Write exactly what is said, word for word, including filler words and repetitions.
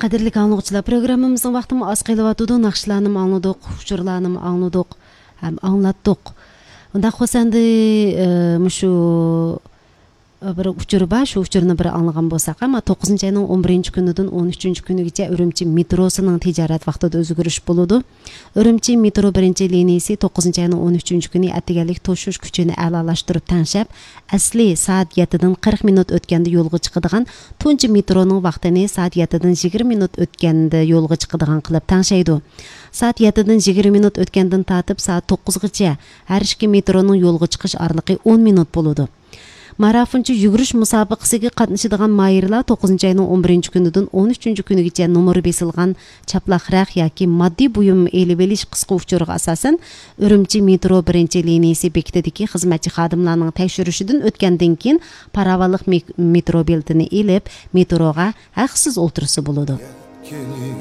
قەدىرلىك ئاڭلىغۇچىلار، پروگراممىمىزنىڭ ۋاقتىمۇ ئاز قېلىۋاتىدۇ. ناخشىلارنىمۇ ئاڭلىدۇق، ئۇچۇرلارنىمۇ ئاڭلىدۇق ھەم ئاڭلاتتۇق. ئۇنداق بولسا ئەمدى، ئە، مۇشۇ، ئە، بىر ئۇچۇر بار، شۇ ئۇچۇرنى بىر ئاڭلىغان بولساق، ئەمما توققۇزىنچى ئاينىڭ ئون بىرىنچى كۈنىدىن ئون ئۈچىنچى كۈنىگىچە ئۈرۈمچى مېتروسىنىڭ تىجارەت ۋاقتىدا ئۆزگىرىش بولىدۇ. ئۈرۈمچى مېترو بىرىنچى لىنىيىسى توققۇزىنچى ئاينىڭ ئون ئۈچىنچى كۈنى ئەتىگەنلىك توشۇش كۈچىنى ئەلالاشتۇرۇپ تەڭشەپ، ئەسلى سائەت يەتتىدىن قىرىق مىنۇت ئۆتكەندە يولغا چىقىدىغان تۇنجى مېترونىڭ ۋاقتىنى سائەت يەتتىدىن يىگىرمە مىنۇت ئۆتكەندە يولغا چىقىدىغان قىلىپ تەڭشەيدۇ. سائەت يەتتىدىن يىگىرمە مىنۇت ئۆتكەندىن تارتىپ سائەت توققۇزغىچە ھەر ئىككى مېترونىڭ يولغا چىقىش ئارىلىقى ئون مىنۇت بولىدۇ. مارافونچە يۈگۈرۈش مۇسابىقىسىگە قاتنىشىدىغان ماھىرلار توققۇزىنچى ئاينىڭ ئون بىرىنچى كۈنىدىن ئون ئۈچىنچى كۈنىگىچە نومۇرى بېسىلغان چاپلاق رەخ ياكى ماددىي بۇيۇم ئېلىۋېلىش قىسقا ئۇچۇرىغا ئاساسەن، ئۈرۈمچى مېترو بىرىنچى لىنىيىسى بېكىتىدىكى خىزمەتچى خادىملارنىڭ تەكشۈرۈشىدىن ئۆتكەندىن كېيىن، پاراۋانلىق مېك-، مېترو بېلىتىنى ئېلىپ، مېتروغا ھەقسىز ئولتۇرسا بولىدۇ.